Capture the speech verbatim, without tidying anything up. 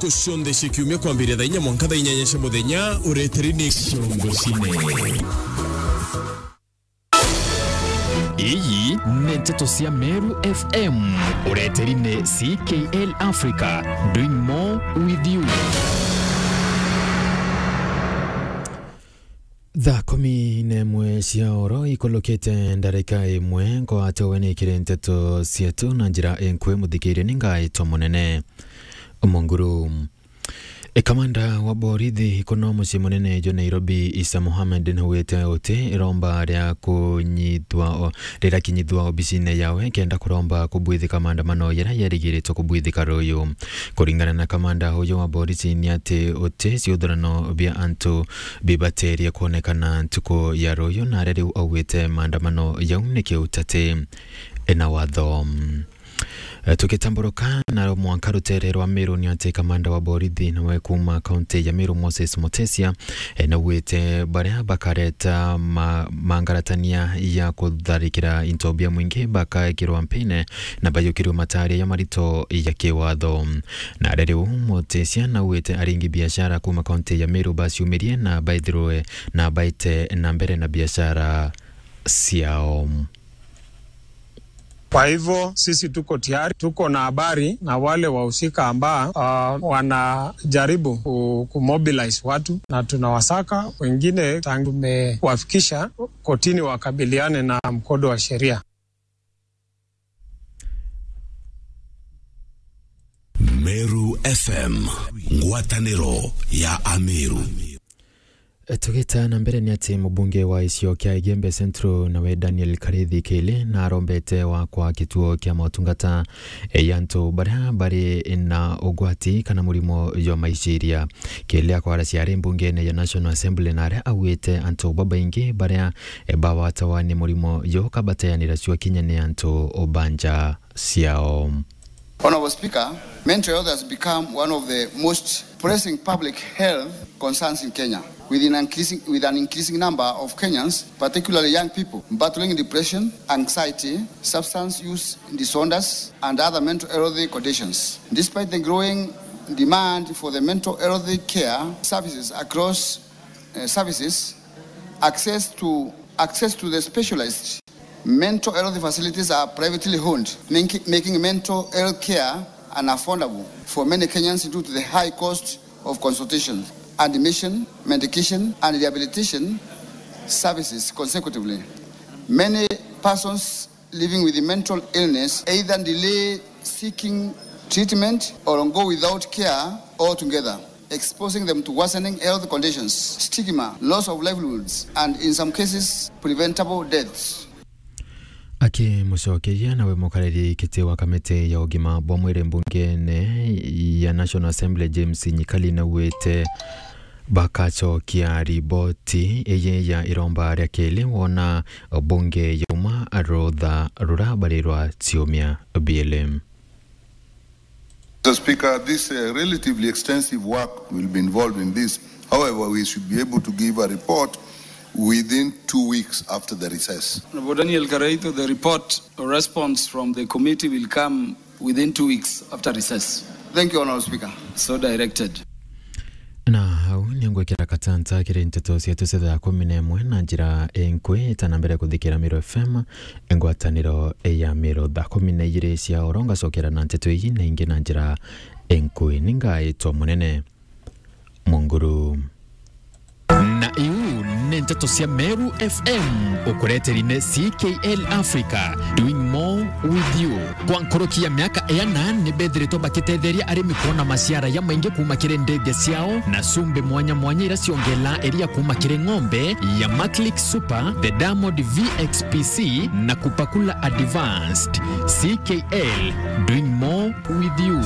Ntuku cionthe cia kiumia kwambiria thaa inya mwanka thaa inyanya cia muthenya, ureteri ni Ciongo Cine. Iyi ni nteto cia Meru F M, ureteri ni C K L Africa, doing more with you. Thaa kumi na imwe cia oro ikulukite ndarika imwe, ngwate we ni kiri nteto cietu na njira inkui, muthikiria ni ngaitwa munene Munguru. E, kamanda wa borithi kuno mucii munene jwa Nairobi, Isa Mohamed, naugite uti iromba ria kunyithwa o-, rirakinyithwa obisine yawe kenda kuromba kubwithika maandamano jaria jarigiritwe kubwithika ruyu. Kuringana na kamanda uyu wa borisi, ni ati uti ciuthurano bia antu bibaterie kwonekana ntuku ya ruyu, na aria riu augite maandamano jau ni kiutati na watho. E, tugitamburuka na mwanka rutere rwa Meru, ni ati kamanda wa borithi nawe kuuma kaunti ya Meru, Moses Mutesia, e, naugite baria bakareta ma-, mangaratania ya kutharikira into bia mwingi bakaikirwa mpine na bayukirwe mataria ja marito ja kiwatho. Na aria riu Mutesia naugite aringi biashara kuuma kaunti ya Meru baciumirie na baithirwe na baite na mbere na biashara ciao. Kwa hivyo sisi tuko tayari, tuko na habari na wale wahusika ambao, ah, wanajaribu ku-, kumobilize watu, na tunawasaka. Wengine tangu tumewafikisha kotini wakabiliane na mkondo wa sheria. Meru F M, ngwataniro ya Ameru. Tugita na mbere, ni ati mubunge wa gicigo kia Igembe Central nawe Daniel Karithi Kili narombete wakwa kituo kia motungata, e, ya antu baria bari na ugwati kana murimo jwa maiciria. Kili akwaracia ari mbungene ya National Assembly na aria augite antu babaingi baria, e, bawatawa ni murimo juu kabateanira cua kinya ni antu banja ciao. Honorable Speaker, mental health has become one of the most pressing public health concerns in Kenya, with an increasing, with an increasing number of Kenyans, particularly young people, battling depression, anxiety, substance use disorders, and other mental health conditions. Despite the growing demand for the mental health care services across, uh, services, access to, access to the specialized mental health facilities are privately owned, making, making mental health care unaffordable for many Kenyans due to the high cost of consultation, admission, medication, and rehabilitation services consecutively. Many persons living with mental illness either delay seeking treatment or go without care altogether, exposing them to worsening health conditions, stigma, loss of livelihoods, and in some cases, preventable deaths. Akimucokeria nawe mukariri kiti wa kamiti ya ugima bwa mwiri mbungene ya National Assembly, James Nyikali, naugite bakacokia riboti iyi ya iromba ria Kili wona bunge yauma rutha rura bari rwa ciumia biiri. Mister Speaker, this, uh, relatively extensive work will be involved in this. However, we should be able to give a report within two weeks after the recess. Honorable Daniel Karaitho, the report or response from the committee will come within two weeks after recess. Thank you, Honorable Speaker. So directed. Na au ni ngwikira katanta kiri nteto cietu cia thaa kumi na imwe na njira inkui, ta na mbere kuthikira Meru F M, ngwataniro ya Meru. Thaa kumi na igiri cia oro ngacokera na nteto iji na ingi na njira inkui. Ni ngaitwa Munene Munguru. Na iu ni nteto cia Meru F M, ukureteri ni C K L Africa, doing more with you. Kwa nkuruki ya miaka iana, ni bethiritwe bakitetheria arimi kwona maciara jamaingi kuuma kiri ndege ciao na cumbi mwanya mwanya iria ciongelaa iria kuuma kiri ng'ombe ya Maclick Super, the Diamond V X P C na Kupakula Advanced. C K L, doing more with you.